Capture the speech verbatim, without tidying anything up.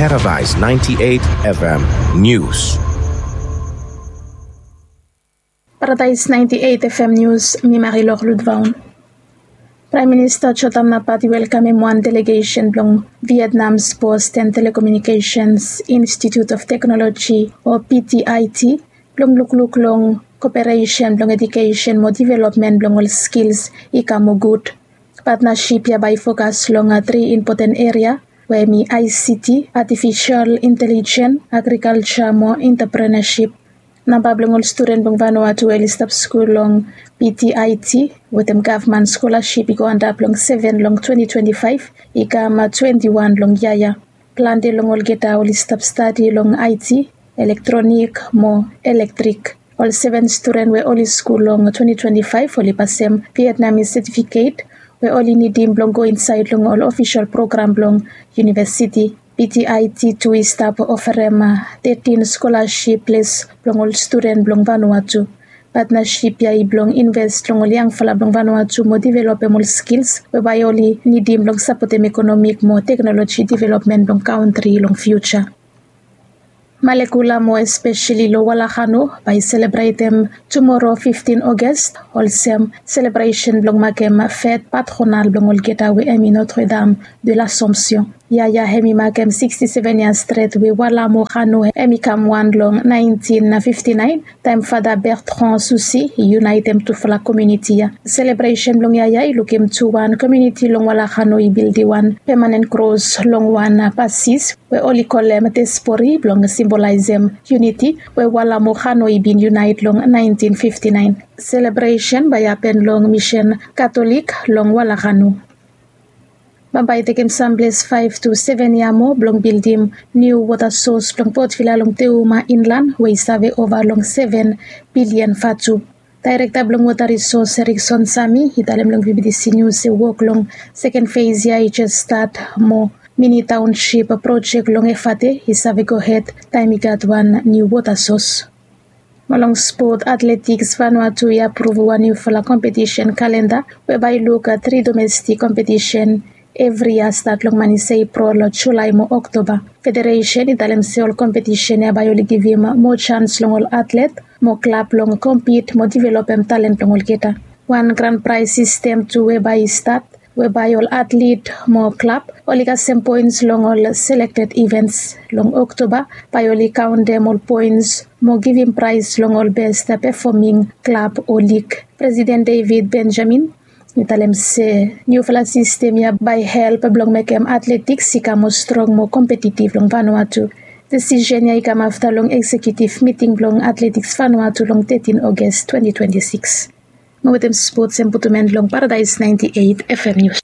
Paradise ninety-eight F M News. Paradise ninety-eight F M News, mi Marilor Ludvaun. Praem Minista Jotam Napat i welkamem wan delegesen blong Vietnam's Post and Telecommunications Institute of Technology o P T I T blong lukluk long koperesen blong edukesen mo developmen blong ol skils i kam moa gud. Patnasip ya bae i fokas long tri impoten eria we hemi I C T, artifisol intelijen, agrikalja mo antreprenesip. Namba blong ol studen blong Vanuatu we oli stap skul long P T I T wetem gavman skolasip i go antap long seven long twenti twenti faef i kam twenti wan long yia ya. Plante long olgeta oli stap stadi long I T, elektronik mo elektrik. Ol seven studen we oli skul long twenti twenti faef oli pasem Vietnamese setifiket we oli nidim blong go insaed long ol ofisol program blong univesiti. P T I T tu i stap oferem tetin skolasip ples blong ol studen blong Vanuatu. Patnasip ya i blong inves long ol yangfala blong Vanuatu mo developem ol skils we bae oli nidim blong sapotem ekonomik mo teknoloji developmen blong kantri long fiuja. Malekula mo espeseli long Walakanu bae i selebretem tumoro fiftin Oges olsem selebresen blong makem fet patronal blong olgeta we hemi Notre Dame de l'Assomption. Yia ya hemi makem siksti seven yia stret we Wala mo Kanu hemi kam wan long naentin fifti naen taem Fada Bertrand Soucy i yunaetem tufala komuniti ya. Selebresen blong yia ya i lukim tu wan komuniti long Walakanu i bildim wan pemanen kros long wan pasis we oli kolem tespori blong simbolaesem yuniti we Wala mo Kanu i bin yunaet long naentin fifti naen. Selebresen bae i hapen long Misen Katolik long Walakanu. Bambae i tekem samples faef tu seven yia moa blong bildim niu wota sos blong Port Vila long Teuma inlan we i save ova long seven bilian vatu. Daerekta blong Wota Risos Erikson Sami i talem long V B T C News se wok long seken fes ya i jes stat mo mini taonsip projek long Efate i save gohed taem i gat wan niu wota sos. Mo long spot, Atletiks Vanuatu i apruv wan niufala kompetisen kalenda we bae i luk tri domestik kompetisen evri yia stat long manis Epril, Julae mo Oktoba. Federesen i talem se ol kompetisen ya bae oli givim moa jans long ol atlet mo klab blong kompit mo developem talen blong olgeta. Wan gran praes sistem tu we bae i stat we bae ol atlet mo klab oli kasem poens long ol selekted ivens. Long Oktoba bae oli kaontem ol poens mo givim praes long ol bes pefoming klab o lig. Presiden David Benjamin i talem se niufala sistem ya bae i help blong mekem atletiks i kam moa strong mo kompetitiv long Vanuatu. Desisen ya i kam afta long eksekiutiv miting blong Atletiks Vanuatu long tetin Oges twenti twenti sikis. Mo wetem spots em putum en long Paradaes naenti eit F M News.